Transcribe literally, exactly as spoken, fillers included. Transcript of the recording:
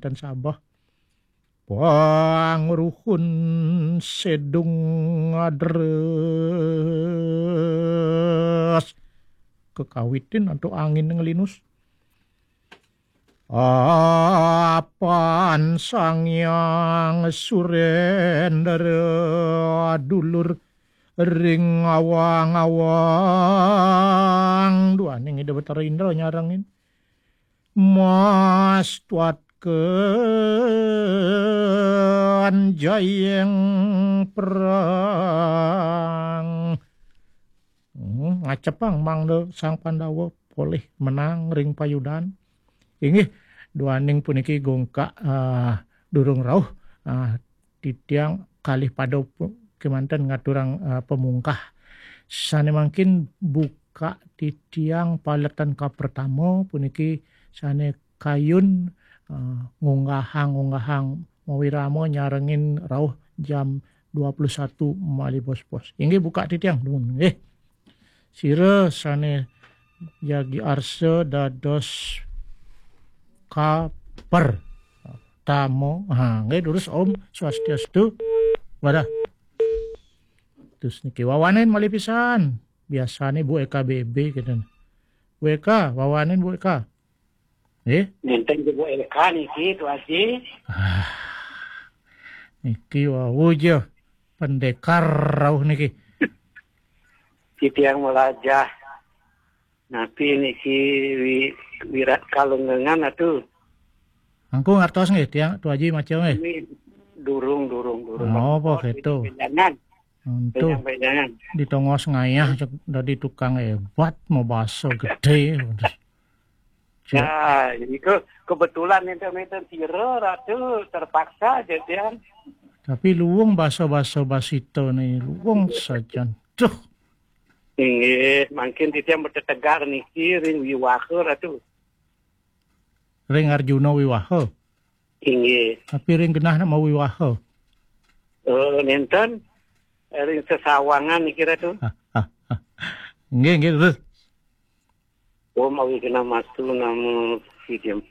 dan Sabah. Pangruhun sedung ngadres. Kekawitin antuk angin ngelinus. Apan Sang Hyang Surendra dulur ring awang-awang. Duaning Ida Betara Indra nyarengin. Mas tuatken jayeng perang. Hmm, ngacepang mangda Sang Pandawa polih menang ring payudan. Inggih, duaning puniki gungkak, ah, durung rauh, ah, titiang kalih pada pu-, kemanten ngaturang, ah, pamungkah. Sane mangkin buka titiang paletan kapertama puniki sane kayun, ah, ngunggahang-ngunggahang mawirama nyarengin rauh jam dua puluh satu malih bos-bos. Inggih buka titiang, dumun, nggih. Sira sane jagi arsa dados kaper tama. Ha, nggih durus Om Swastiastu. Wadah. Terus niki wawanin malih pisan. Biasane Bu Eka B B gitu. Bu Eka, wawanin Bu Eka. Nggih. Nenten Bu Eka niki, Tu Aji. Ah, niki wau ja pendekar rauh niki. Titiang melajah. Napi niki wi-, wirat kalungengan atu. Angku ngartos nggih, tiang Tu Aji maca nggih. Ini durung, durung, durung. Napa gitu? Jangan. Untuk Jangan, jangan. Di tongos ngayah cek dadi tukang hebat, mau baso gede. Cek. Ya, ini ke-, kebetulan enten-enten sira, Ratu, terpaksa aja, Tiang. Tapi luwung basa-basa basita nih, luwung sajan. Duh. Inggih, mangkin titiang betetegar niki ring wiwaha, Ratu. Ring Arjuna wiwaha. Inggih. Tapi ring genah nak mawiwaha. Eh, nenten, ring sesawangan niki, Ratu. Nggih, nggih, terus. Om Awighnamastu Namo Sidham.